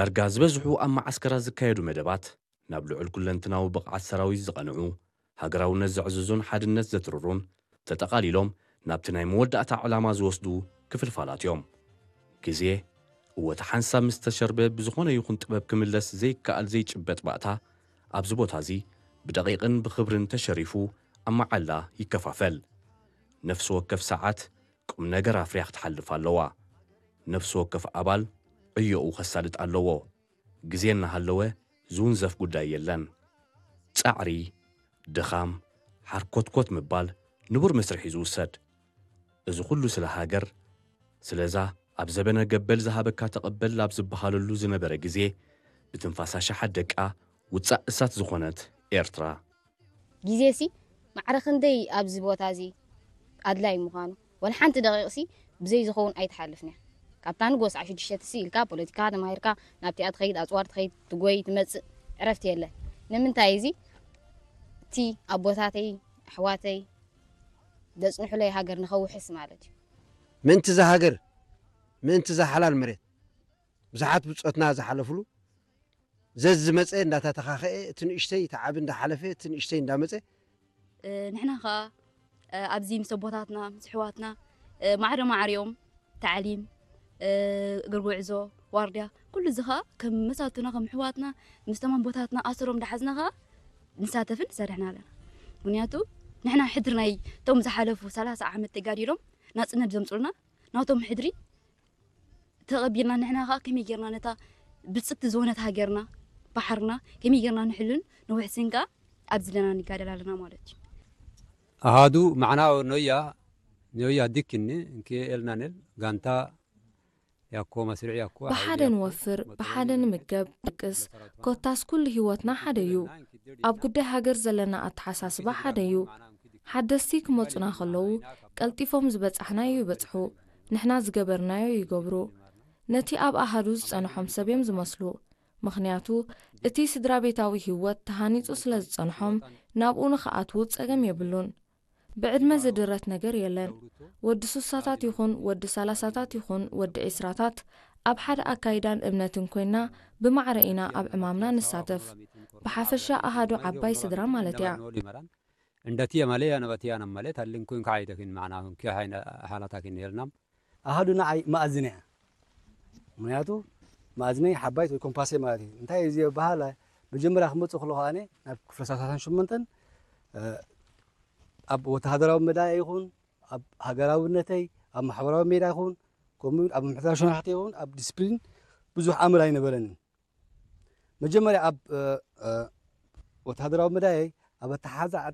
ዳርጋ ዝበዝሑ ኣብ መዓስከራት ዝካየዱ መደባት ናብ ልዑል ኩለንትናዊ ብቕዓት ሰራዊት ዝቐንዑ፣ ሃገራውነት ዘዕዝዙን ሓድነት ዘትርሩን፣ ተጠቓሊሎም ናብቲ ናይ መወዳእታ ዕላማ ዝወስዱ ክፍልፋላት እዮም። ግዜ፣ እወ፣ እቲ ሓንሳብ ምስ ተሸርበ ብዝኾነ ይኹን ጥበብ ክምለስ ዘይከኣል ዘይጭበጥ ባእታ፣ ኣብዚ ቦታ እዚ ብደቂቕን ብኽብርን ተሸሪፉ ኣብ መዓላ ይከፋፈል። ነፍሲ ወከፍ ሰዓት ቁም ነገር ኣፍርያ ክትሓልፍ ኣለዋ። ነፍሲ ወከፍ ኣባል ዕዮኡ ከሳልጥ ኣለዎ። ግዜ እናሃለወ ዝውንዘፍ ጉዳይ የለን። ጻዕሪ፣ ድኻም፣ ሓርኮትኮት ምባል ንቡር መስርሕ እዩ ዝውሰድ። እዚ ኩሉ ስለ ሃገር፣ ስለዛ ኣብ ዘበነ ገበል ዝሃበካ ተቐበል ኣብ ዝበሃለሉ ዝነበረ ግዜ፣ ብትንፋሳ ሸሓት ደቃ ውጻእ እሳት ዝኾነት ኤርትራ። ግዜሲ ማዕረ ክንደይ ኣብዚ ቦታ እዚ ኣድላይ ምዃኑ፣ ወላ ሓንቲ ደቂቕሲ ብዘይ ዝኸውን ኣይትሓልፍን እያ። ካብታ ንጎ ሰዓት ሽዱሽተ ትሲ ኢልካ ፖለቲካ ተማሂርካ ናብቲኣ ትኸይድ፣ ኣጽዋር ትኸይድ፣ ትጎይ፣ ትመጽእ፣ ዕረፍቲ የለን። ንምንታይ እዚ እቲ ኣቦታተይ ኣሕዋተይ ዘጽንሑለይ ሃገር ንኸውሕስ ማለት እዩ። ምእንቲ እዛ ሃገር፣ ምእንቲ እዛ ሓላል መሬት ብዙሓት ብጾትና ዝሓለፍሉ፣ ዘዝመጸ እንዳተተኻኸኤ፣ እቲ ንእሽተይ እቲ ዓቢ እንዳሓለፈ፣ እቲ ንእሽተይ እንዳመጸ፣ ንሕና ኸዓ ኣብዚ ምስ ኣቦታትና ምስ ኣሕዋትና ማዕረ ማዕሪኦም ታዕሊም፣ እግሪ ጉዕዞ፣ ዋርድያ፣ ኩሉ እዚ ኸዓ ከም መሳቱና ከም ኣሕዋትና ምስ ተማም ቦታትና ኣሰሮም እንዳሓዝና ኸዓ ንሳተፍን ንሰርሕን ኣለና። ምክንያቱ ንሕና ሕድሪ ናይ እቶም ዝሓለፉ ሰላሳ ዓመት ተጋዲሎም ናጽነት ዘምጹልና ናቶም ሕድሪ ተቐቢልና ንሕና ኸዓ ከመይ ጌርና ነታ ብጽቲ ዝኾነት ሃገርና ባሕርና ከመይ ጌርና ንሕሉን ንውሕስን ከኣ ኣብዚ ዘለና ንጋደል ኣለና ማለት እዩ። ኣሃዱ ማዕና ኖያ ኖያ ዲክኒ እንኪ ኤልናንል ጋንታ ያኮ መስሪዕ ያኮ ብሓደ ንወፍር፣ ብሓደ ንምገብ፣ ድቅስ፣ ኮታስ ኩሉ ህይወትና ሓደ እዩ። ኣብ ጉዳይ ሃገር ዘለና ኣተሓሳስባ ሓደ እዩ። ሓደስቲ ክመጹና ከለዉ ቀልጢፎም ዝበጻሕናዮ ይበጽሑ፣ ንሕና ዝገበርናዮ ይገብሩ። ነቲ ኣብ ኣሃዱ ዝጸንሖም ሰብ እዮም ዝመስሉ። ምኽንያቱ እቲ ስድራ ቤታዊ ህይወት ተሃኒጹ ስለ ዝጸንሖም ናብኡ ንኽኣትዉ ጸገም የብሉን። ብዕድመ ዝድረት ነገር የለን። ወዲ ሱሳታት ይኹን ወዲ ሰላሳታት ይኹን ወዲ ዒስራታት ኣብ ሓደ ኣካይዳን እምነትን ኮይና ብማዕረ ኢና ኣብ ዕማምና ንሳተፍ። ብሓፈሻ ኣሃዱ ዓባይ ስድራ ማለት እያ። እንደትየ ማለ ያነበትያ ነመለ ታልን ኮይን ከዓይተኪን ማዕና ኪ ሓላታኪን የልናም ኣሃዱ ንዓይ መኣዝነ እያ። ምክንያቱ መኣዝነይ ሓባይት ወይ ኮምፓሰይ ማለት እዩ። እንታይ እዩ ዝበሃል? መጀመርያ ክመፅእ ከለኹ ኣነ ናብ ክፍለ ሰላሳን ሸሞንተን ኣብ ወተሃደራዊ መዳይ ይኹን ኣብ ሃገራውነተይ ኣብ ማሕበራዊ ሜዳ ይኹን ከምኡ እውን ኣብ ምሕታር ሸናሕቲ ይኹን ኣብ ዲስፕሊን ብዙሕ ኣምር ኣይነበረንን። መጀመርያ ኣብ ወተሃደራዊ መዳየይ ኣብ ኣተሓዛ